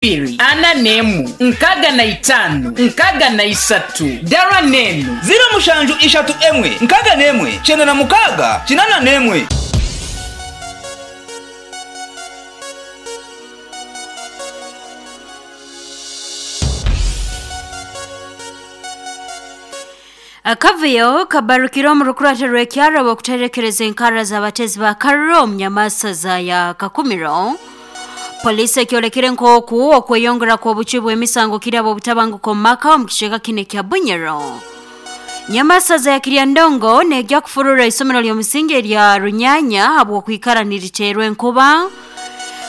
Ibiri, ana n'emu, nkaaga na itaanu, nkaaga na isatu, dara n'enu. Ziro mushanju ishatu emwe, nkaaga n'emwe, kyenda na mukaaga, kinaana n'emwe. Akavuyo kabarukire omu rukurate rw'ekyaro okuterekereza enkara z'abatezi ba karuro omu nyamasaza ya Kakumiro. Poliisi ekyolekere nk'oku okweyongera kw'obucwi bw'emisango kiri ab'obutabanguko omu maka omu kicweka kinu ekya Bunyoro. Nyamasaza ya Kiryandongo neegya kufurura isomero ly'omusingi erya Runyanya habw'okwikara niriteerwa enkuba.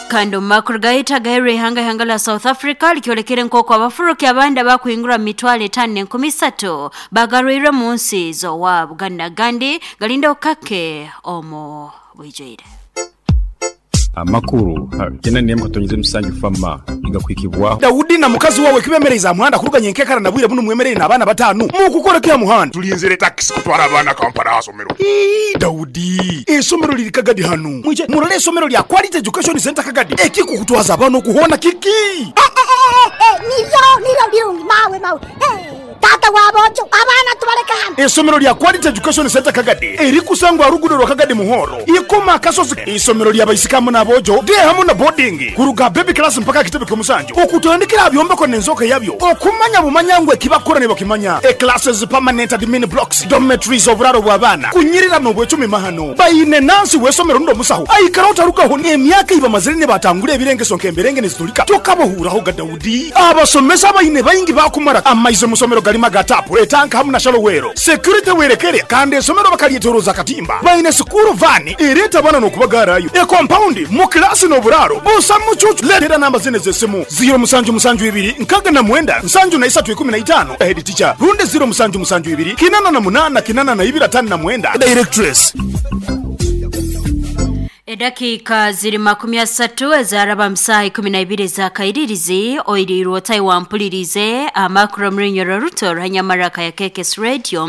Kandi omu makuru gaitu agaheerwa ihanga ihanga lya South Africa likyolekere nk'oku abafuruki abandi abakuhingura mu mitwaro 5 300 bagarwirwe mu nsi z'owaabo. Gandi n'agandi galinda okukake omu bwijwire. Amakuru 91.7 Fama nigakuhikibwaho. Daudi na mukazi wawe kibemereize aha muhanda kuruga nyenkekara na bwire bunu mwemereire n'abaana batanu. Mukukora ki aha muhanda? Tulinzire takisi kutwara abaana Kampala aha somero. Ii, Daudi, eisomero liri Kagadi hanu. Mwije murole eisomero lya Quality Education Centre Kagadi. Ekikukutwaza abaana okuhoona kiki? Niryo, niryo birungi, mawe, mawe. Taata wa boojo, abaana tubaleke hano. Eisomero lya Quality Education Centre Kagadi erikusangwa aha ruguudo rwa Kagadi Muhoro, Ikoma Akasozi. Eisomero lya baisiki hamu n'aboojo, day hamu na boarding, kuruga aha baby class mpaka aha kitebe ky'omusanju, okutandikira aha byombeko n'enzooka yabyo, okumanya bumanya ngu ekibakukora nibakimanya, e classes, permanent admin blocks, dormitories, oburaaro bw'abaana, kunyirira n'obwecumi mahano. Baine nansi w'eisomero rundi omusaho aikara otarugaho n'emyaka ei bamazire nibatangura ebirengeso nk'emberenge nizitulika tokabahuuraho ga Daudi. Abasomesa abaine baingi baakumara amaizi omu somero garimu aga taapu, etanka hamu na shallow well. Security werekere kandi esomero bakaryetoroza akatimba. Baine sikuuru vaani ereeta abaana n'okubagaarayo, ekompaundi mu kilaasi n'oburaaro busa mucuucu. Leetera namba zinu ez'esimu, ziiro musanju musanju ibiri nkaaga na mwenda nsanju na isatu ikumi na itaano, Head teacher, rundi ziiro musanju musanju ibiri kinana na munaana kinana na ibiri ataano na mwenda, Directress. Edakiika ziri 30 ezaraba mu saaha 12 ez'akairirizi oiriirwe otayi wampuliriize amakuru omu runyoro ruto ruhanyamaraka ya KKS Radio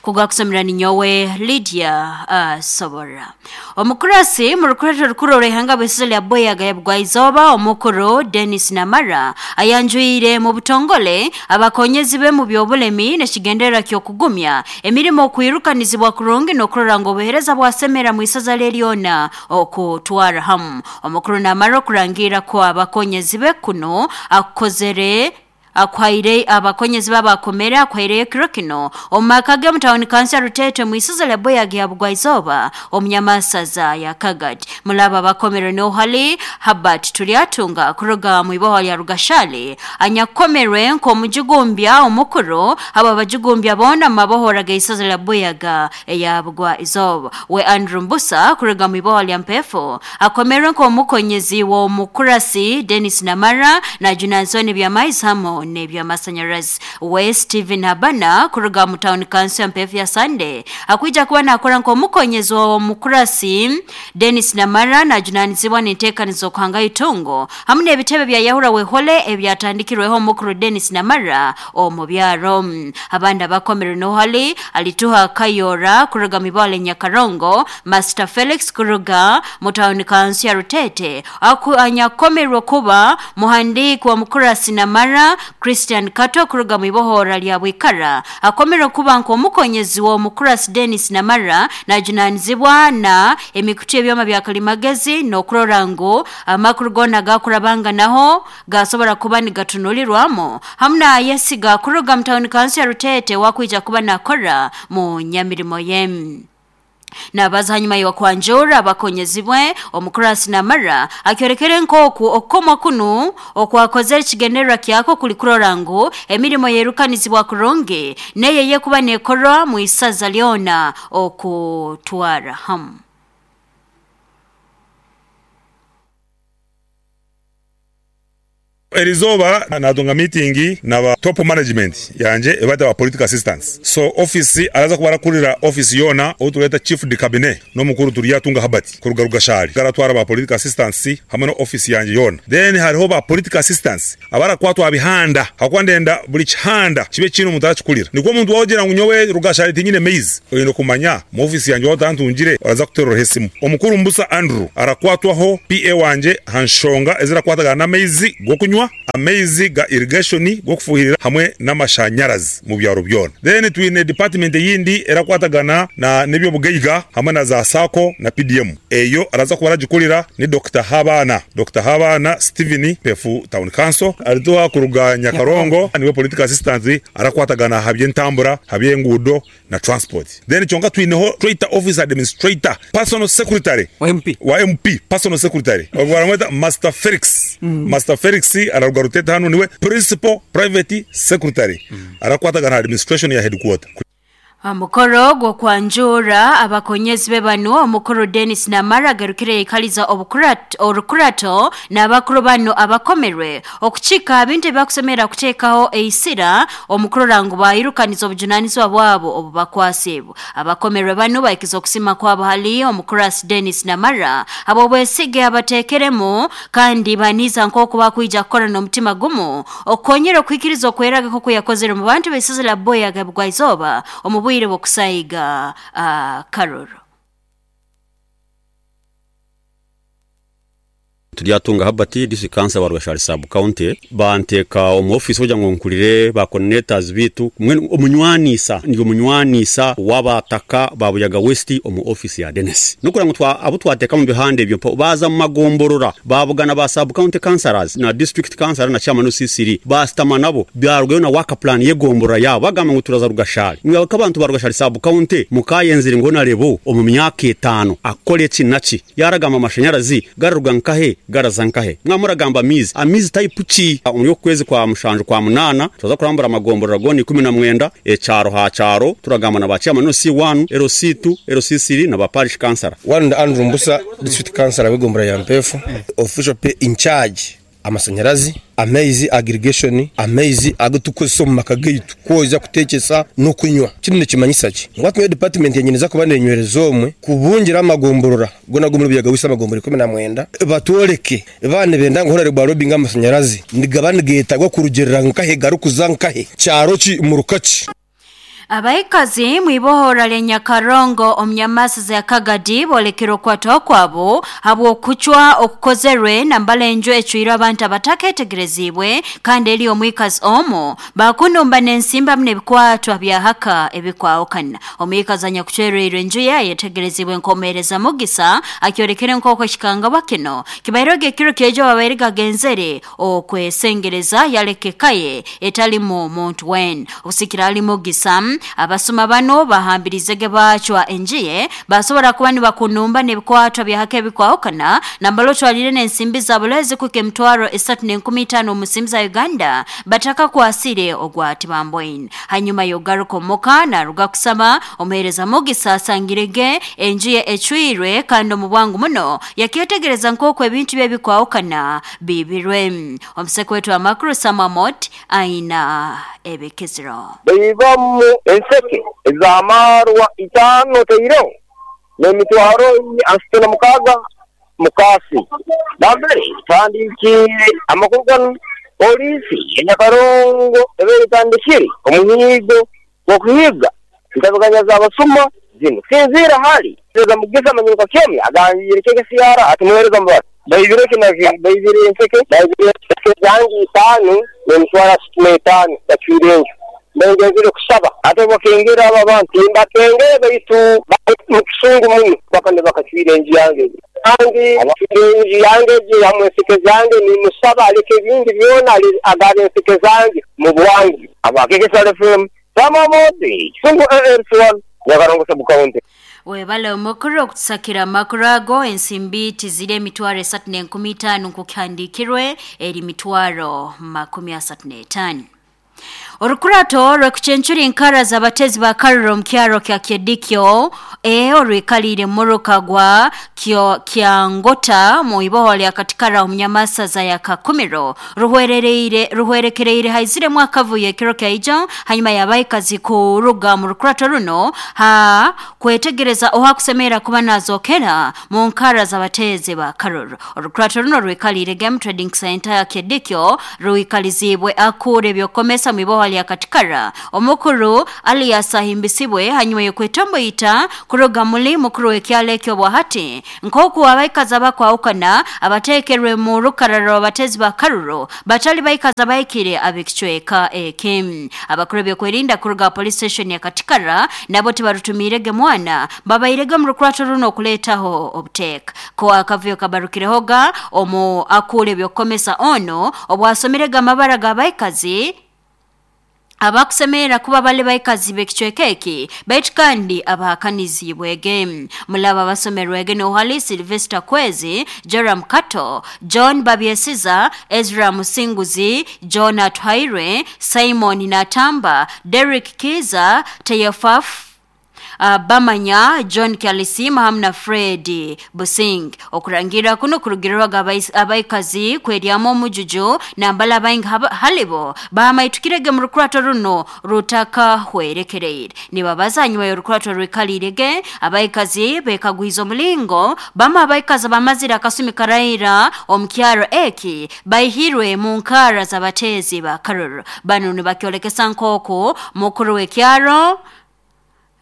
kugakusomera ninyowe Lydia Sobora. Omukurasi mu rukureto rukuru orw'ihanga bw'isizo lya Boyaga ya Bugwaizooba omukuru Dennis Namara ayanjwire mu butongole abakonyezi be mu by'obulemi n'ekigendererwa ky'okugumya emirimo okwirukanizibwa kurungi n'okurora ngu obuheereza bwasemera mu isaza lye lyona okutwara hamu. Omukuru Namara okurangira ko abakonyezi be kuno akukozere akwaire abakonyezi babakomere akwaireyo ekiro kino omu maka ge omu tawuni kanso ya Ruteete omu isaza lya Boyagi ya Bugwaizooba omu nyamasaza ya Kagadi. Mulaba abakomere n'ohali Habert Turyatunga kuruga mu iboho lya Rugashali anyakukomerwe nk'omujugumbya omukuru abo abajugumbya boona mu mabohora g'isaza lya Buyaga eya Bugwaizooba. We Andrew Mbusa kuruga mu iboho lya Mpefu akomerwe nk'omukonyezi w'omukurasi Dennis Namara na Junansoni eby'amaizi hamu n'eby'amasanyarazi. We Stephen Habana kuruga mu tawuni kanso ya Mpefu ya Sande akwija kuba nakora nk'omukonyezi w'omukurasi Dennis Namara najunanizibwa n'enteekaniza okuhanga itungo hamu n'ebitebe bya Yahura Wehole ebyatandikirweho omukuru Dennis Namara omu byaro. Abandi abakomerwe n'ohali Alituha Kayora kuruga mu ibale Nyakarongo, Master Felix kuruga mu tawuni kanso ya Rutete anyakukomerwe kuba muhandiiki wa mukurasi Namara Christian Kato kuruga mu ibohora lya Bwikara akomerwe kuba nk'omukonyezi w'omukurasi Dennis Namara najunanizibwa na emikutu y'ebyoma bya kalimagezi n'okurora ngu amakuru goona gakurabanga naho gasobora kuba nigatunulirwamu hamu na Yesiga kuruga mu tawuni kanso ya Rutete wakwija kuba nakora mu nyamirimo ye. Nabaza hanyuma y'okwanjura abakonyezibwe omukurasi Namara akyorekere nk'oku okukomwa kunu okwakozere ekigendererwa kyako kuli kurora ngu emirimo yerukanizibwa kurungi neye yekuba nekorwa mu isaza lyona okutwara hamu. Erizooba natunga meeting na ba top management yangye ebaita ba political assistants. So office araza kuba arakurira office yoona ou tureeta chief de cabinet n'omukuru Turyatunga Herbert kuruga Rugashari aratwara ba political assistants hamwe na office yangye yoona. Then hariho ba political assistants abarakwatwa aha bihanda ahakuba ndenda buri kihanda kibe kiine omuntu arakikurira. Nikwo omuntu waogira ngu nyowe Rugashari tinyine maizi, oine kumanya omu office yangye waaba otantungire oraza kuteereraho esimu. Omukuru Mbusa Andrew arakwatwaho PA wangye aha nshonga ezirakwatagana n'amaizi g'okunywa. g'okunywa, amaizi ga irrigation g'okufuhirira hamwe n'amashanyarazi mu byaro byona. Then twine department eyindi erakwatagana na n'eby'obugaiga hamwe na za sacco na PDM. Eyo araza kuba aragikurira ni Dokita Habaana, Dokita Habaana Steven Mpefu Town Council arituha kuruga Nyakarongo niwe political assistant arakwatagana aha by'entambura, aha by'enguudo na transport. Then kyonka twineho tweta office administrator, personal secretary Wa MP. wa MP, personal secretary ogwo baramweta Master Felix. Master Felix araruga Rutete hanu niwe principal private secretary arakwatagana aha administration ya headquarter. Aha mukoro gw'okwanjura abakonyezi be banu, omukuru Denis Namara agarukire yaikaliza orukurato n'abakuru banu abakomerwe okukiika aha bintu ebibakusemerra kuteekaho eisira omu kurora ngu bairukaniza obujunanizibwa bwabo obubakwasiibwe. Abakomerwe banu bahikize okusiima kwabo hali omukurasi Denis Namara habw'obwesige abateekeremu kandi baniiza nk'oku bakwija kukora n'omutima gumu okukonyera okuhikiriza okweraga nk'oku yakozere omu bantu b'eisaza lya Buea Bugwaizooba omu bwire bw'okusaiga akaruru. Turyatunga Herbert, District Councillor wa Rweshari Sub County, banteeka omu ofiisi kugira ngu nkurire ba coordinators baitu mbwenu omunywanisa ndi omunywanisa w'abataka ba Buyaga West omu ofiisi ya Denis. N'okugira ngu abu twateeka omu bihanda ebyo mpaho baaza omu magomborora baabugana ba Sub County Councillors na District Councillor na Chairman OCCD baasitama nabo baarugayo na work plan y'egomborora yaabo bagamba ngu turaza Rugashari. Imwe nk'abantu ba Rugashari Sub County mukaayenzire ngu Honarebo omu myaka etaano akore eki na ki? Yaaragamba amashanyarazi gararuga nkahe garaza nkahe? Mwaba muragamba amaizi, amaizi type ki? Omuri oku kwezi kwa mushanju kwa munaana turaza kurambura amagomborora goona 19, ekyaro ha kyaro, turagamba na ba chairman LC1, LC2, LC3 na ba parish councillor. One Andrew Mbusa, District Councillor w'egombolola ya Mpeefu, Official Pay in Charge Amasanyarazi, amaizi aga irrigation, amaizi agu turikukozesa omu maka gaitu kwoza, kutekyesa n'okunywa. Kinu nikimanyisa ki? Ngu hati nyowe department yangye neeza kuba nenywereza omwe kubungira amagomborora goona ag'omuri Buyaga West amagomborora 19 batworeke baaba nibenda ngu hoona ba lobbyinge amasanyarazi nigaba nigetagwa kurugirira nkahe garikuza nkahe, kyaro ki, muruka ki. Abaikazi mwibohora lya Nyakarongo omu nyamasaza ya Kagadi bolekere okwatwaho kwabo habw'okucwa okukozerwe nambala enju ecwirwe abantu abataketegereziibwe kandi eri omwikazi omu bakunumba n'ensimbi hamu n'ebikwatwa bya haka ebikwahukana. Omwikazi anyakucwereirwe enju ye ayetegereziibwe nk'omuheereza Mugisa akyolekere nk'oku ekikangabwa kinu kibaireho ekiro ky'ejo babaire gagenzere okwesengereza yaleka eka ye etalimu muntu weena. Okusikira hali Mugisa, abasuma banu bahambirizege baacwa enju ye baasobora kuba nibakunumba n'ebikwatwa bya hake ebikwahukana nambala otwalire n'ensimbi za Bulaya ezikuhika 3,500 omu nsimbi za Uganda batakakwasire ogwa Tibamboine. Hanyuma y'okugaruka omuka naruga kusaba, omuheereza Mugisa asangirege enju ye ecwirwe kandi omu bwangu muno yakyetegereza nk'oku ebintu bye ebikwahukana biibirwe. Omuseke waitu w'amakuru Sam Amot aina ebikiziro. Baibamu enseke ez'amaarwa itaano otaireho n'emitwaro asatu na mukaaga mu kaasi. Nambere tuhandiikiire amakuru ganu, poliisi ye Nyakarongo ebaire etandikire omuhiigo gw'okuhiiga entabiganya z'abasuma zinu. Kusinziira hali Muheereza Mugisa Amanyirwe Kakyomya agambiire KKCR ati Muheereza Mubara baibire ki na ki? Baibire enseke, baibire enseke zange itaano n'emitwaro asatu n'etaano bacwire enju. Mbengenzire kusaba ate bakengere abo abantu. Timbakengere baitu bali mu kisungu muno paka nibakacwire enju yange egi. Kandi acwire enju yange egi hamu enseke zange nimusaba aleke ebindi byona agabe enseke zange mu bwangu. Aba KKCR FM, Sam Amooti, Kisungu ALC1, Nyakarongo Sub County. Webale omukuru okutusakira amakuru ago, ensimbi tiziri 3,500 nkokukihandiikirwe, eri 35,000. Orukurato rw'ekucencura enkara z'abatezi ba Karura omu kyaro kya Kyedikyo A orwikaliire muruka gwa Kyangota mu iboho lya Katikara omu nyamasaza ya Kakumiro ruhwerereire ruhwerekereire haiziremu akavuyo ekiro kya ijo hanyuma y'abaikazi kuruga omu rukurato runo ha kwetegereza ohakusemerra kuba nazokera mu nkara z'abateezi ba Karuru. Orukurato runo rwikaliire Game Trading Center ya Kyedikyo rwikaliziibwe akuura eby'okukomesa mu iboho lya lya Katikara omukuru Alias Ahimbisibwe hanyuma y'okwetomboita kuruga muli mukuru w'ekyalo ekyo bwahati nk'oku abaikazi abakwahukana abateekerwe mu rukarara rw'abatezi ba Karuro batali baikazi abahikire ab'ekicweka eki. Abakuru b'ebyokwerinda kuruga police station ya Katikara nabo tibarutumiirege mwana babairege omu rukurato runo okuleetaho obuteeka. Ko akavuyo kabarukirehoga omu akuura ebyokukomesa ono obwasomerege amabara g'abaikazi abakusemerera kuba bali baikazi b'ekicweka eki baitu kandi abahakaniziibwege. Mulaba abasomerwege nohali Sylvester Kwezi, Joram Kato, John Babyesiza, Ezra Musinguzi, John Atuhairwe, Simon Natamba, Derrick Kiza, Teyefaf Bamanya John Kyalisima hamu na Fred Busing. Okurangira kuno kurugirirwaga abaikazi kweryamu omujuju nambala abaingi halibo bahamaitukirege mu rukurato runo rutakahwerekereire. Nibabaza hanyuma y'orukurato rwikalirege abaikazi bekagwiza omulingo bamu abaikazi bamazire akasumi karaira omu kyaro eki baihirwe mu nkara z'abateezi ba Karuru. Banu nibakyolekesa nk'oku mukuru w'ekyaro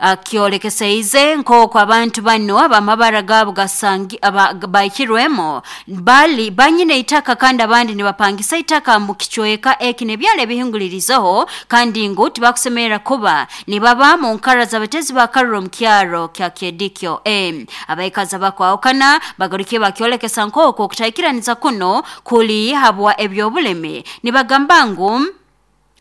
akyolekeseize nk'oku abantu bano abamabara gaabo gasangi baihirwemo bali banyine itaka kandi abandi nibapangisa itaka mu kicweka eki n'ebyalo ebihingulirizeho kandi ngu tibakusemerera kuba nibaba mu nkara z'abatezi ba Karuro mu kyaro kya Kyedikyo A. Abaikazi abakwahukana bagarukiye bakyolekesa nk'oku okutaikiraniza kuno kuli habwa ebyobulemi. Nibagamba ngu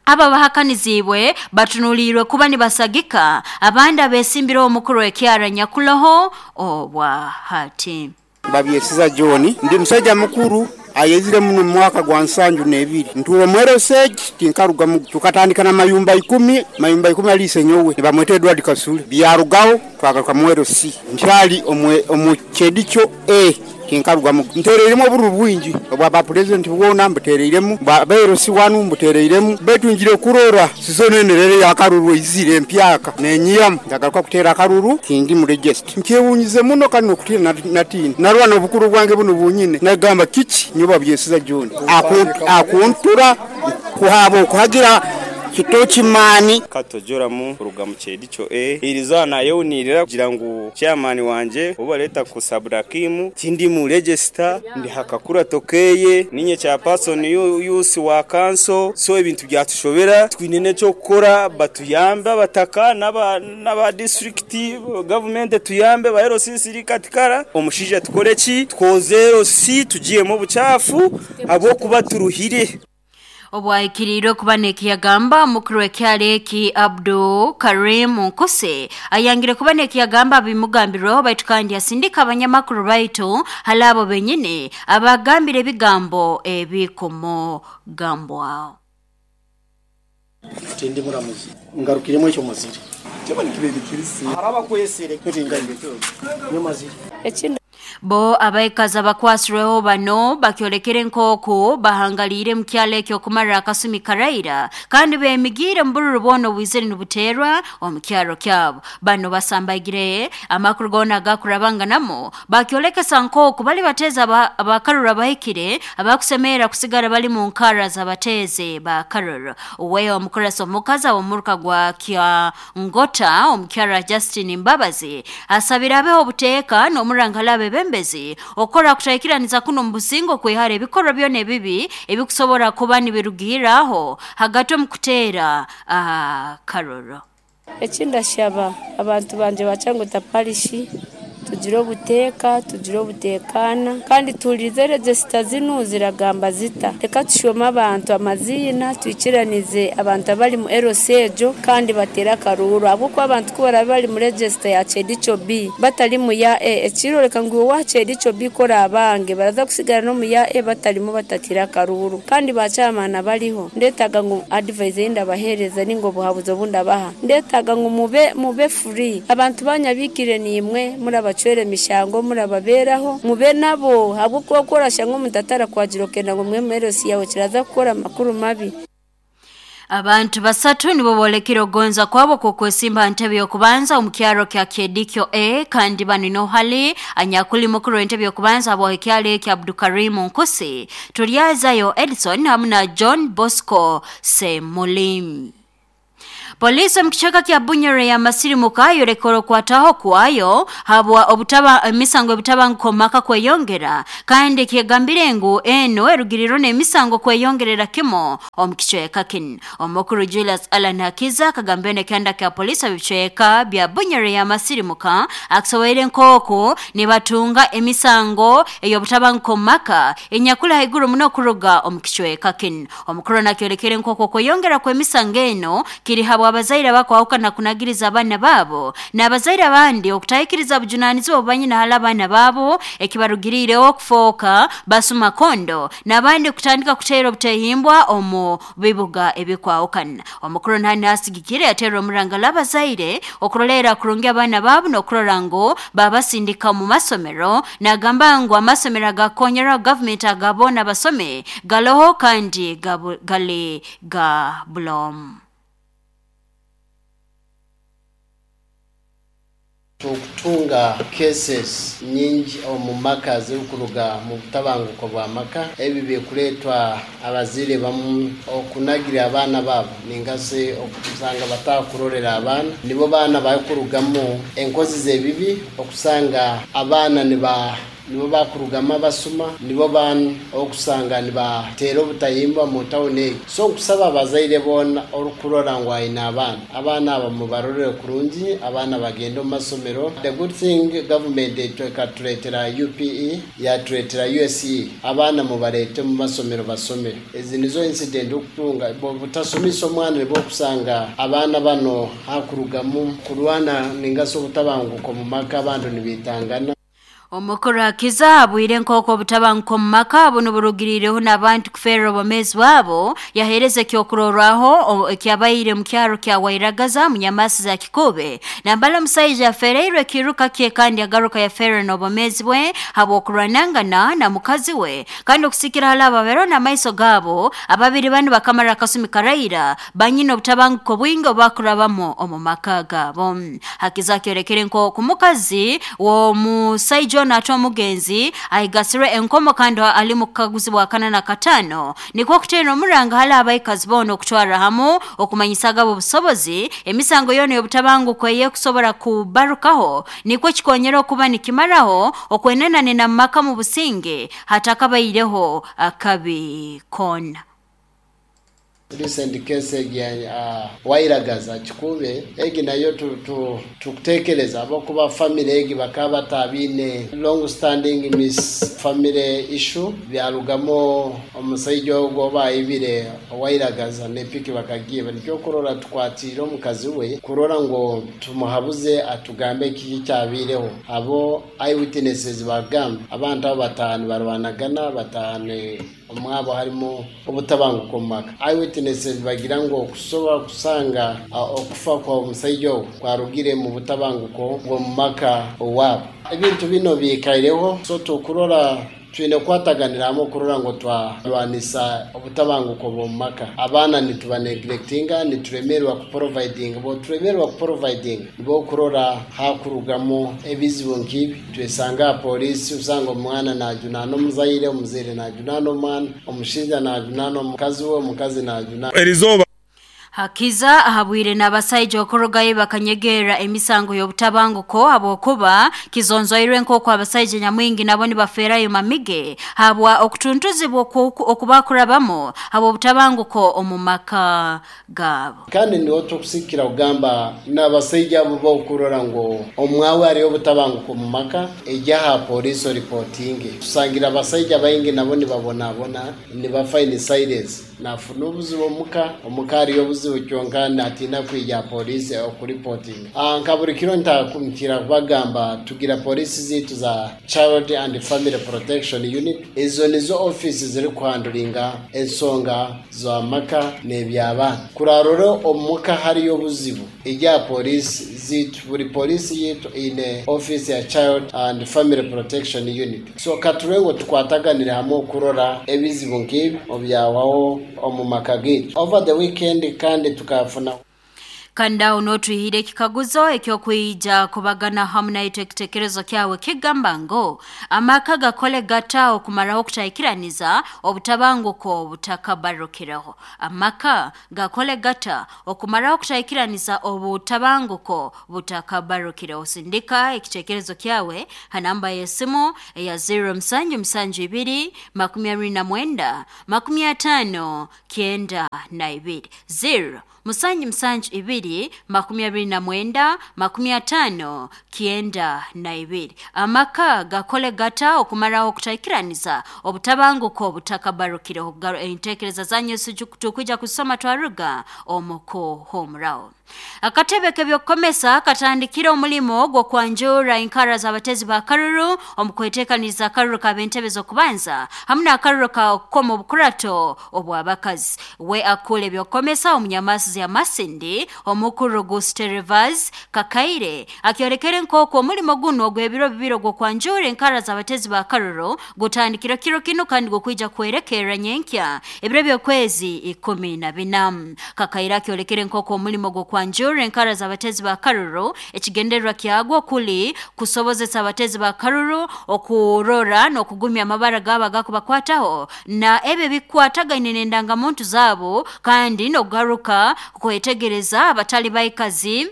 aba bahakanizibwe batunuliirwe kuba nibasagika abandi abesimbire omukuru w'ekyaro Nyakuloho obwahati. Babyesiza John ndi musajja mukuru ayezire muno mu mwaka gwa 72 ntuwe mwero stage tinkarugamu tukatandika na mayumba 10 mayumba 10 alise nyowe nibamwete Edward Kasule byarugaho twagaruka mwero C nkyali omwe Kyedikyo A tinkarugamu ntereiremu oburu bwingi obwa ba president bwona mbutereiremu ba berosi wanu mbutereiremu betungire kurora sizonenerere yakaruru izire empyaka nenyiyamu ndagaruka kutera akaruru kindi mu register nkyewunyize muno kano kutira natini narwana obukuru bwange buno bunyine nagamba kiki nyoba byesiza John akuntura kuhabo kuhagira kitoki mani katojoramu kuruga mu Kyedikyo A irizana yonirira kugira ngu chairman wanje obaleta ku Sabrakimu tindi mu register ndi hakakura tokeye ninye cha person yusi wa council so ebintu byatushobera twinene cyo gukora batuyamba bataka naba district government tuyambe ba RCC katikara omushija tukore ki twoze RC tugiyemo bucafu abo kuba turuhire. Obwahikiriirwe kuba nekiyagamba mukuru w'ekyalo eki Abdu Karim Nkuse ayangire kuba nekiyagamba bimugambirweho baitu kandi asindika abanyamakuru baitu hali abo benyine abagambire ebigambo ebikumugambwaho. Tindi muramuzi ngarukiremo ekyo muzire Bo abaikazi abakwasirweho bano bakyolekere nk'oku bahangaliire mu kyalo ekyo okumara akasumi karaira kandi bemigiire mu bururu bwona obwizire nibuteerwa omu kyaro kyabo. Bano basambaigire amakuru goona agakurabanganamu bakyolekesa nk'oku bali bateezi abakaruru abahikire abakusemerera kusigara bali mu nkara z'abateezi ba Karuru. Uwe omukurasa omukazi aw'omuruka gwa Kyangota omukyara Justin Mbabazi asabire abeho obuteeka n'omurangala abebembezi okora kutaikiraniza kuno mu busingo kwihara ebikorwa byona ebibi ebikusobora kuba nibirugiraho hagati omu kuteera Karuru. Ekindashaba abantu banje bacangota parishi tugire obuteeka tugire obuteekana kandi tuhurize regisita zinu ziragamba zita reka tushome abantu amazina twikiranize abantu abari mu RC ejo kandi batera akaruru ahabw'okuba abantu ku barabe bari mu regisita ya Kyedikyo B batari mu ya E ekiroreka ngu wa Kyedikyo B kora abange baraza kusigara no mu ya E batarimo batatira akaruru kandi bacyamana bariho ndetaga ngu advice ndabahereza ningo buhabuzo bundabaha ndetaga ngu mube free abantu banyabikire nimwe murabacwere mishango murababeraho mube nabo habwo korasha ngo mutatara kwagira okenda ngo mwe merosi yawe kiraza gukora amakuru mabi. Abantu basatu nibo bolekire ogonza kwabo kukwesimba ntebe y'okubanza omu kyaro kya Kyedikyo A kandi bano nohali anyakuli mukuru w'entebe y'okubanza abo ekyalo ekya Abdukarim Nkusi, Turyazayo Edson hamu na John Bosco Semulim. Poliisi omu kicweka kya Bunyoro yamasirimuka yoleka okwataho kwayo habwa obutaba emisango ebitabanguko omu maka kweyongera, kandi kyegambire ngu eno erugiriro n'emisango kweyongerera kimu omu kicweka kinu. Omukuru Julius Allan Hakiza akagambire n'ekyanda kya poliisi omu bicweka bya Bunyoro yamasirimuka akusoboire nk'oku nibatunga emisango ey'obutabanguko omu maka enyakuli haiguru muno kuruga omu kicweka kinu. Omukuru nakyolekere nk'oku okweyongera kw'emisango eno kiri habwa abazaire abakwahukana kunagiriza abaana baabo n'abazaire abandi okutahikiriza bujunaanizibwa obubanyina hali abaana baabo, ekibarugiriireho okufooka basuma kondo n'abandi kutandika kuteera obuteehimbwa omu bibuga ebikwahukana. Omukuru nahani asigikire yateera omurangalo abazaire okuroleera kurungi abaana baabo n'okurora ngu babasindika omu masomero, nagamba ngu amasomero agakonyerwaho gavumenti aga boona basome galoho kandi gali ga buloomu. Turikutunga cases nyingi omu maka zirikuruga mu butabanguko bwa maka. Ebi birikureetwa abazaire bamwe okunagira abaana baabo ninga shi okusanga batakurorera abaana. Nibo baana barikurugamu enkozi z'ebibi okusanga abaana niba Nibo baakurugamu abasuma, nibo baana okusanga nibateera obutahimbwa mu tawuni egi. So nkusaba abazaire boona orikurora ngu aine abaana, abaana aba mubarorere kurungi, abaana bagende omu masomero. The good thing government ekatureetera UPE, yatureetera USE, abaana mubareete omu masomero basome. Ezi nizo incident orikutunga, obutasomesa omwana nibwo orikusanga abaana bano hakurugamu kurwana ninga shi obutabanguko omu maka abantu nibaitangana. Omukuru Hakiza abwire nk'oku obutabanguko omu maka bunu burugiriireho n'abantu kufeerra obwomeezi bwabo, yaheereza ekyokurorraho ekyabaire omu kyaro kya Wairagaza omu nyamaasi za Kikuube nambere omusaija yafeereirwe ekiiruka kye kandi yagaruka yafeerra n'obwomeezi bwe habw'okurwanangana na mukazi we, kandi okusikira hali abo abaroho n'amaiso gaabo, ababiri banu bakamara akasumi karaira banyine obutabanguko bwingi obubakurabamu omu maka gaabo. Hakiza akyolekere nk'oku mukazi w'omusaija onu ate omugenzi aigasirwe enkomo kandi ali mu kukaguzibwa akana na kataano, nikwo kuteera omuranga hali abaikazi boona okutwarra hamu okumanyisa agabo obusobozi emisango yoona ey'obutabanguko ey'ekusobora kubarukaho nikwo kikonyera okuba nikimaraho okwenenanena mu maka mu businge hatakabaireho akabi koona. Recent case egi ya Wairagaza Kikuube egi nayo tukutekereza ahabw'okuba family egi bakaba batabiine long standing miss family issue byarugamu omusaija ogu ou baibire Wairagaza n'epiki bakagiiba. Nikyo okurora tukwatiire omukazi we kurora ngu tumuhabuze atugambe kiki ekyabaireho. Abo eye witnesses bagamba abantu abo bataaha nibarwanagana bataaha ni. Omwabo harimu obutabanguko omu maka. Eyewitnesses bagira ngu okusoba kusanga okufa kwa omusaija ogu kwarugire mu butabanguko bw'omu maka owaabo. Ebintu bino biikaireho, so tukurora twine kukwataganira hamwe kurora ngu twarwanisa obutabanguko bw'omu maka. Abaana nituba neglectinga, nituremerwa ku providinga, bwoturemerwa ku providinga nibwo okurora hakurugamu ebizibu nk'ibi. Twesanga aha pooriisi osanga omwana naajunaana omuzaire, omuzaire naajunaana omwana, omushaija naajunaana omukazi we, omukazi naajunaana. Erizooba. Hakiza ahabwire n'abasaija okurugayo bakanyegerra emisango y'obutabanguko habwokuba kizonzoirwe nk'oku abasaija nyamwingi nabo nibafeerayo mamige habwa okutuntuzibwa okubakurabamu habw'obutabanguko omu maka gaabo. Kandi niho turikusigikira kugamba n'abasaija abo b'okurora ngu omwawe hariyo obutabanguko omu maka, ija aha pooriisi oripotinge. Tusangire abasaija baingi nabo nibabonabona, nibafa in silence. Naafuna obuzibu omuka, omuka hariyo obuzibu kyonka naatiina kwija aha pooriisi okuripotinga. Nka buri kiro nkira kubagamba tugira pooriisi zaitu za Child and Family Protection Unit, ezo nizo ofiisi zirikuhanduringa ensonga z'amaka n'eby'abaana. Kurarora omu muka hariyo obuzibu, ija aha pooriisi zaitu. Buri pooriisi yaitu eine ofiisi ya Child and Family Protection Unit. So ka turebe ngu tukwataganire hamwe okurora ebizibu nk'ebi obyahwaho omu maka gaitu. Over the weekend kandi tukafuna. Kandi aho n'otwihire ekikaguzo ekyokwija kubagana hamu naitwe ekitekerezo kyawe kigamba ngu amaka gakole gata okumaraho okutaikiraniza obutabanguko butakabarukireho. Amaka gakole gata okumaraho okutaikiraniza obutabanguko butakabarukireho. Sindika ekitekerezo kyawe ha namba y'esimu eya 0772 29 50 92 0 772 29 50 92. Amaka gakole gata okumaraho okutaikiraniza obutabanguko butakabarukireho. Entekereza zanyu tukwija kusoma twaruga omukuhumuraho. Akatebe k'ebyokukomesa katandikire omulimo gw'okwanjura enkara z'abatezi ba karuru omu kweteekaniza akaruru k'ab'entebe z'okubanza hamu n'akaruru ka okukoma obukurato obw'abakazi. We akula ebyokukomesa omunyamasi ya Masindi omukuru Gusterivas Kakaire akyolekere nk'oku omulimo guno ogw'ebiro bibiri ogw'okwanjura enkara z'abatezi ba karuru gutandikire kiro kinu kandi gukwija kwerekerra nyenkya ebiro by'okwezi 14. Kakaire akyolekere nk'oku omulimo gw'okwanjura enkara z'abatezi ba karuru ekigendererwa kyagwo kuli kusobozesa abatezi ba karuru okurora n'okugumya amabara gaabo agakubakwataho na ebyo ebikwatagaine n'endangamuntu zaabo kandi n'okugaruka kwetegereza abatali baikazi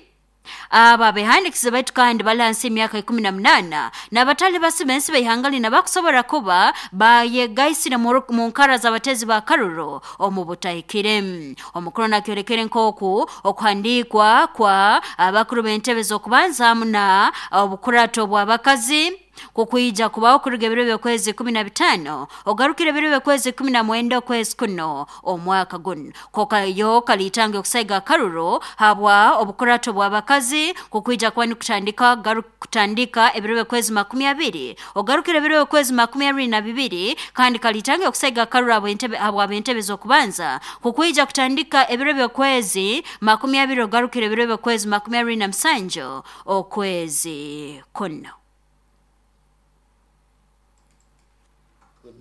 aba abehandikize baitu kandi bali hansi y'emyaka 18 n'abatali basiba ensi b'eihanga lina bakusobora kuba bayegaisire mu nkara z'abatezi ba karuru omu butahikire. Omukuru nakyolekere nk'oku okuhandiikwa kwa abakuru b'entebe z'okubanza hamu na obukurato bw'abakazi kukwija kubaho kuruga ebiro by'okwezi 15 ogarukire ebiro by'okwezi 19 okwezi kuno omwaka guno. Kokayo kalitange okusaiga akaruru habwa obukurato bw'abakazi kukwija kuba nikutandika kutandika ebiro by'okwezi 20 ogarukire ebiro by'okwezi 22 kandi kalitange okusaiga akaruru habwa ab'entebe z'okubanza kukwija kutandika ebiro by'okwezi 20 ogarukire ebiro by'okwezi 27 okwezi kuno.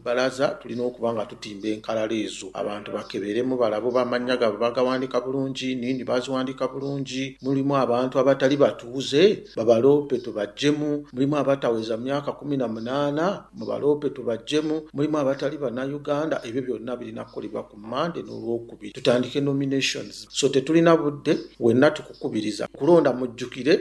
Baraza tulina okuba nga tutimba enkalala ezo abantu bakeberemu balabe bamanya gaabwe bagawandika bulungi nini baziwandika bulungi. Mulimu abantu abatali batuuze babaloope tubajjemu, mulimu abataweza myaka 18 mubaloope tubajjemu, mulimu abatali bannayuganda. Ebyo byonna birina kukolebwa ku Mmande n'Olwokubiri tutandike nominations. So tetulina budde, wenna tukukubiriza kulonda mujjukire.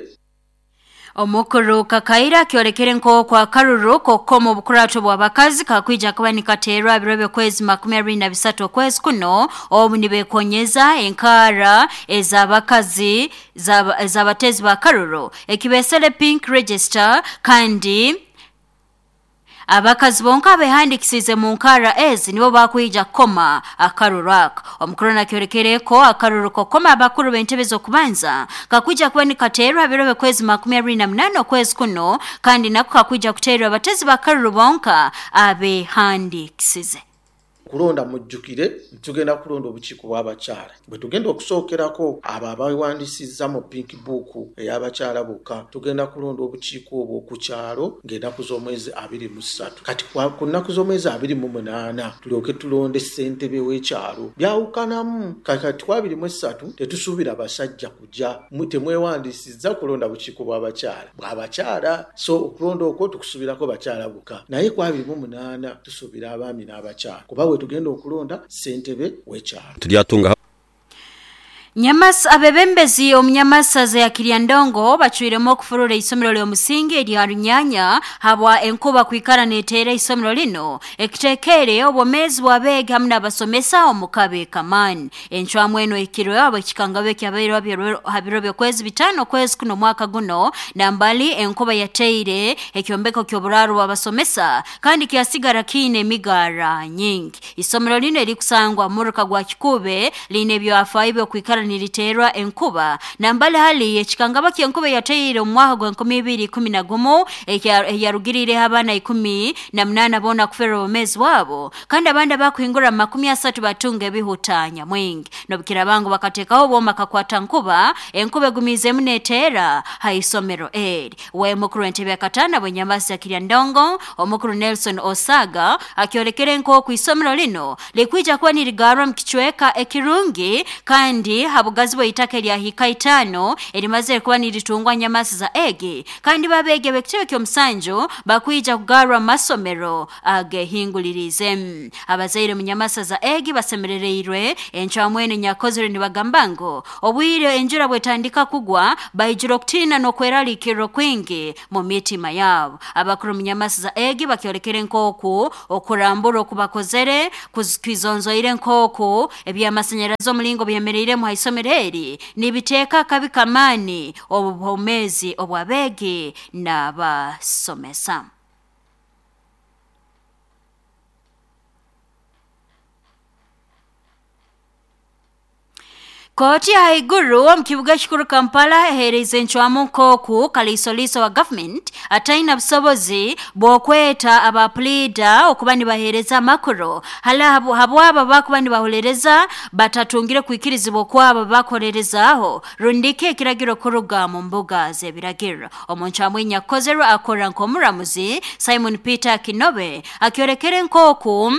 Omukuru Kakaire akyolekere nk'oku akaruru k'okukoma obukurato bw'abakazi kakwija kuba nikateerwa biro by'okwezi 23 okwezi kuno obu nibekonyeza enkara ez'abakazi ez'abatezi ba karuru ekibesere pink register kandi abakazi bonka abehandikisize mu nkara ezi nibo bakwija kukoma akaruru aka. Omukuru nakyorekereko akaruru kokoma abakuru b'entebe z'okubanza kakwija kuba nikateerwa biro by'okwezi 28 okwezi kuno kandi nako kakwija kuteerwa abatezi ba karuru bonka abehandikisize. Kulonda mujjukire tugenda kulonda obukiiko bw'abakyala bwe tugenda okusookerako abo abawandisizza mu pink book ey'abakyala bokka. Tugenda kulonda obukiiko obwo ku kyalo ng'ennaku z'omwezi 23. Kati ku nnaku z'omwezi 28 tulyoke tulonde ssentebe w'ekyalo. Byawukanamu kati ku 23 tetusuubira basajja kujja, temwewandisizza kulonda bukiiko bw'abakyala bw'abakyala, so okulonda okwo tukusuubirako bakyala bokka, naye ku 28 tusuubira abaami n'abakyala kuba tugenda okulonda ssentebe w'ekyalo. Tulyatunga Nyamas abebembezi omunyamasaza ya Kiryandongo bachwiremo okufurura isomero ly'omusingi erya Runyanya habwa enkuba kwikara neteera isomero lino ekitekere obwomezi bw'abeegi hamu n'abasomesa omu kabe kamani. Encwamu eno ekirwe abo ekikangabe kyabaire habiro by'okwezi 5 okwezi kuno mwaka guno nambali enkuba yateire ekyombeko ky'oburaaro bw'abasomesa kandi kyasigara kiine emigara nyingi. Isomero lino erikusangwa muruka gwa Kikube line ebyafaayo by'okwikara niliterwa enkuba nambali hali ekikangaba ky'enkuba yateire omu mwaka gwa 2011 eyarugirire abaana 18 bona kufera obumezi bwabo kandi abandi abakuhingura 30 batunga ebihutanya mwingi. Nobukira bangu bakatekaho obwoma kakwata nkuba enkuba egumizemu neteera ha isomero eri. We mukuru w'entebe ya katana bwenyamasi ya Kiryandongo omukuru Nelson Osaga akyolekere nk'oku isomero lino likwija kuba nirigarwa mu kicweka ekirungi kandi ha bugazi bw'eitaka erya hiika itaano erimazire kuba niritungwa Nyamasiza egi kandi babeege b'ekitebe ky'omusanju bakwija kugarwa mu masomero agehingulirize. Abazaire mu Nyamasaza egi basemerereirwe encwamu enu nyakozere nibagamba ngu obwire enjura bwetandika kugwa baijura okutiina n'okweraliikirira kwingi mu mitima yaabo. Abakuru mu Nyamasiza egi bakyolekere nk'oku okurambura okubakozere kwizonzoire nk'oku eby'amasanyarazi omulingo byemereiremu ha isomero eri nibiteeka akabi kamaani obu bwomeezi obw'abeegi n'abasomesa. Kooti ya haiguru omu kibuga ekikuru Kampala eheereize encwamu nk'oku kaliisoliiso wa gavumenti ataine busobozi bw'okweta aba puliida okuba nibaheereza amakuru hali habwabo abakuba nibahuliiriza batatungire kwikirizibwa okwabo bakolerezaaho rundiki ekiragiro kuruga mu mbuga z'ebiragiro. Omu ncwamu enyakukozerwe akora nk'omuramuzi Simon Peter Kinobe akyolekere nk'oku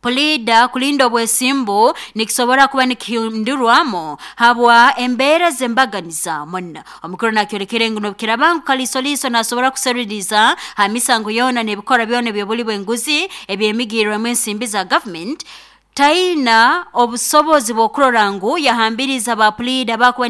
puliida kulinda obwesimbu nikisobora kuba nikihindurwamu habwa embeera z'embaganiza muno. Omukuru nakyolekere ngu n'obukiraaba ngu kaliisoliiso naasobora kuseruliriza ha misango yoona n'ebikorwa byona eby'obuli bw'enguzi ebyemigiirwemu ensimbi za gavumenti, taina obusobozi bw'okurora ngu yahambiriza ba puliida abakuba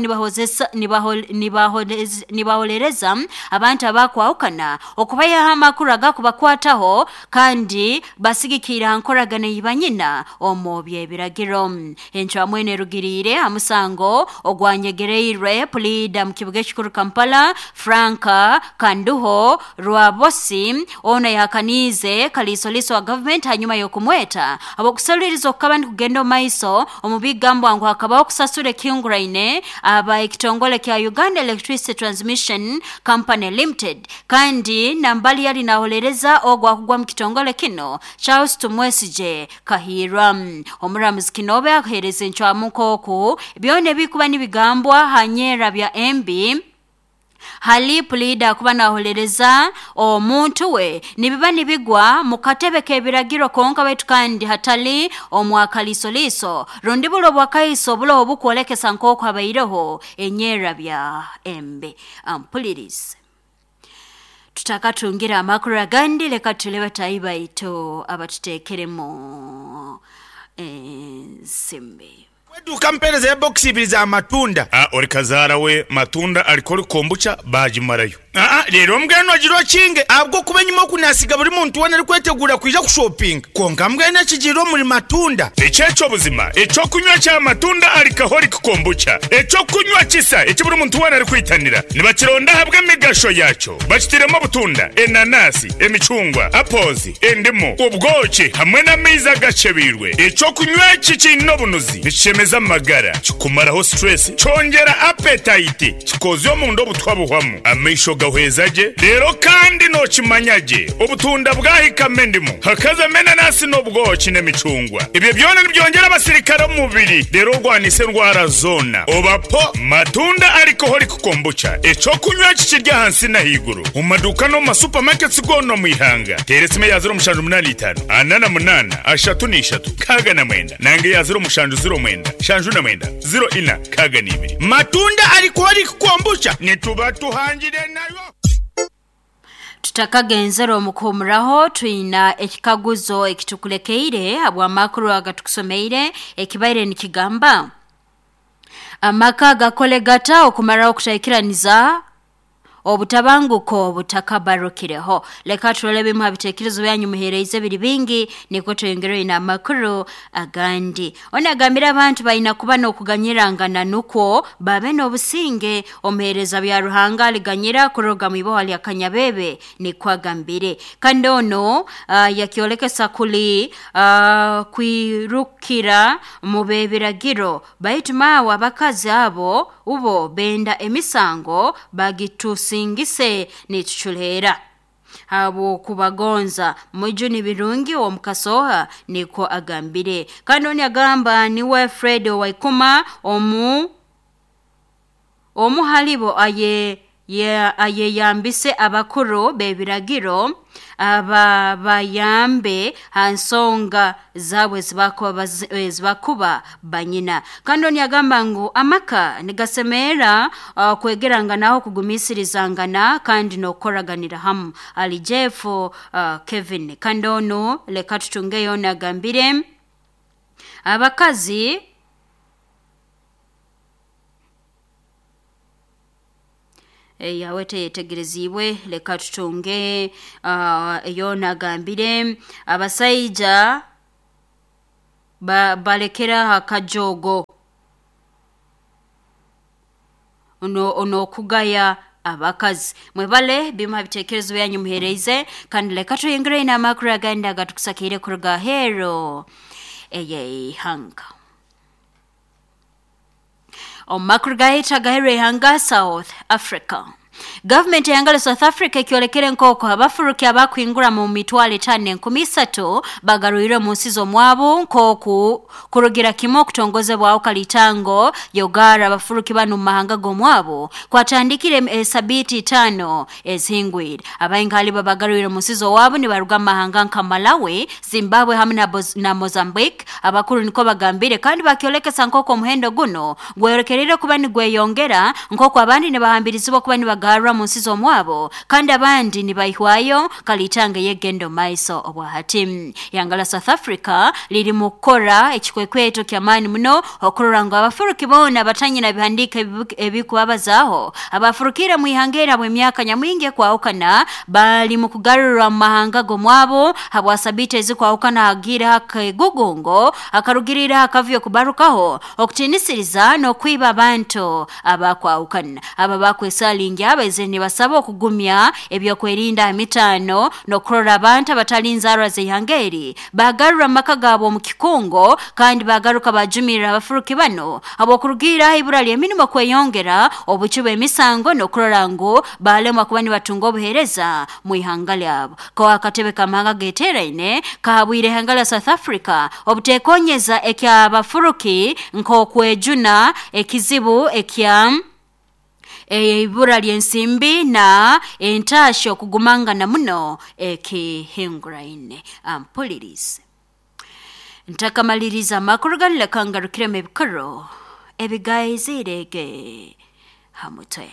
nibaholereza abantu abakwahukana okubayaho amakuru agakubakwataho kandi basigikiire ha nkoragana ei banyina omu by'ebiragiro. Encwamu enu erugiriire ha musango ogwanyegereirwe puliida mu kibuga ekikuru Kampala Frank Kanduho Rwabosi ono yahakaniize kaliisoliiso wa gavumenti hanyuma y'okumweta habw'okuseruliiriza okukaba nikugenda omu maiso omu bigambwa ngu hakabaho okusasura ekihinguraine aba ekitongole kya Uganda Electricity Transmission Company Limited kandi nambali yali naholereza ogu akugwa mu kitongole kino Charles Tumwesigye Kahiirwa. Omuramuzi Kinobe akuheereza encwamu nk'oku byona ebikuba nibigambwa ha nyerra bya embi hali puliida akuba naholereza omuntu we nibiba nibigwa mu katebe k'ebiragiro konka baitu kandi hatali omwakaliisoliiso rundi bulo obwakaiso buloho obukwolekesa nk'oku habaireho enyerra bya embi. Ampulirize. Tutakatungire amakuru agandi leka tule bataahi baitu abatuteekeremu ensimbi. Kweduuka mpeereza ya bokisi ibiri za matunda. A Ori kazaara we matunda alcoholic kombucha baagimarayo. Aa Reero mbwenu ogire okinge ahabw'okuba enyima oku naasiga buri muntu weena arikweteguura kwija kushopinga. Kwonka mbwenu ekigiire omuri matunda. Eki eky'obuzima, eky'okunywa kya matunda alcoholic kombucha, eky'okunywa kisa eki buri muntu weena arikwitanira. Nibakironda ahabw'emigasho yaakyo. Bakitairemu obutunda, enanasi, emicungwa, apples, endimu, obwoki hamwe n'amaizi agakyebeirwe. Eky'okunywa eki kiine obunuzi, nikishemeza amagara, kikumaraho stress, kyongyera appetite, kikoozya omunda obutwa buhwamu, amaisho gahweza gye, reero kandi nookimanya gye obutunda bwahikamu endimu, hakazamu enanasi n'obwoki n'emicungwa. Ebyo byona nibyongyera abasirikare omu mubiri reero orwanise endwara zoona. Oba po matunda alcoholic Kombucha, eky'okunywa eki kiri ahansi n'ahaiguru omu maduuka n'omu ma supermarkets goona omu ihanga. Teera esimu eya 0785 48 33 69 nanga eya 0709 79 04 62. Matunda alcoholic kombucha nituba tuhangire nayo. Tutakagenzere omu kuhumuraho, twina ekikaguzo ekitukulekeire habw'amakuru agatukusomeire ekibaire nikigamba, Amaka gakole gata okumaraho okutaikiraniza obutabanguko butakabarukireho? Leka turole ebimu ha bitekerezo byanyu muheereize biri bingi nukwo tweyongereyo n'amakuru agandi. Onu agambire abantu baina kuba n'okuganyirangana nukwo babe n'obusinge. Omuheereza bya Ruhanga aliganyira kuruga mu iboha lya kanyabebe nikwo agambire. Kandi onu yakyolekesa kuli kwirukira mu b'ebiragiro. Baitu maawe abakazi abo ubo benda emisango bagitusingise nituculeera habw'okubagonza mujuni birungi ow'omu Kasooha nikwo agambire. Kandi onu agamba niwe Fred Owaikuma omu omu halibo aye ayeyambise abakuru b'ebiragiro ababayambe ha nsonga zaabwe ezibakuba banyina. Kandi onu yagamba ngu amaka nigasemeera kwegeranganaho, kugumisirizangana kandi n'okukoraganira hamu. Ali Jeff Kevin. Kandi onu leka tutungeyo onu agambire abakazi yawe teyetegerezibwe. Leka tutunge eyona agambire abasaija balekera akajogo onokugaya abakazi. Mwebale bimuha bitekerezo byanyu muhereize, kandi leka tuyingire ina amakuru agandi agatukusakire kuruga hero eyeihanga. Omu makuru gahita agahero ihanga South Africa. Gavumenti eyangala South Africa ekyolekere nk'oku abafuruki abakwingura mu mitwalo 5 300 bagarwire mu nsi z'omwabo, nk'oku kurugira kimwe okutongozebwaho kalitango yogara abafuruki banu mu mahanga g'omwabo kwatandikire esabiiti 5 ezihingwire. Abaingi babagarwire mu nsi z'owabo nibaruga mu mahanga nka Malawi, Zimbabwe hamwe na Mozambique. Abakuru niko bagambire, kandi bakyolekesa nk'oku omuhendo guno gweyolekerire kuba nigweyongera, nk'oku abandi nibahambirizibwa kuba nibagarra mu nsi z'omwabo kandi abandi nibaihwayo kalitanga yegendo maiso. Obwahati yangala South Africa liri mu kukora ekikwekweto ky'amaani muno okurora ngu abafuruki boona batanyina bihandika ebikubabazaho abafurukire mu ihanga erabo emyaka nyamwingi ekwahukana bali mu kugarurwa mu mahanga g'omwabo habwa sabiiti ezikwahukana hagiire hakegugungo akarugirira akavyo kubarukaho okutinisiriza n'okwiba abantu abakwahukana. Aba bakwesalingi abaize nibasaba okugumya ebyokwerinda emitano n'okurora abantu abatali nzarwa z'ihanga eri bagarura amaka gaabo omu kikungo, kandi bagaruka bajumirira abafuruki bano habw'okurugiiraho ibura ly'emirimo kweyongera, obucwi bw'emisango n'okurora ngu balemwa kuba nibatunga obuheereza mu ihanga lyabo. Ko akatebe k'amahanga geteeraine kahabwire ihanga lya South Africa obuteekonyeza ekyabafuruki nk'okwejuna ekizibu ekya ibura ly'ensimbi na entasho okugumangana muno ekihinguraine. Ampulirize, ntakamaliriza amakuru ganu, leka ngarukiremu ebikuru ebigaizirege ha mutwe.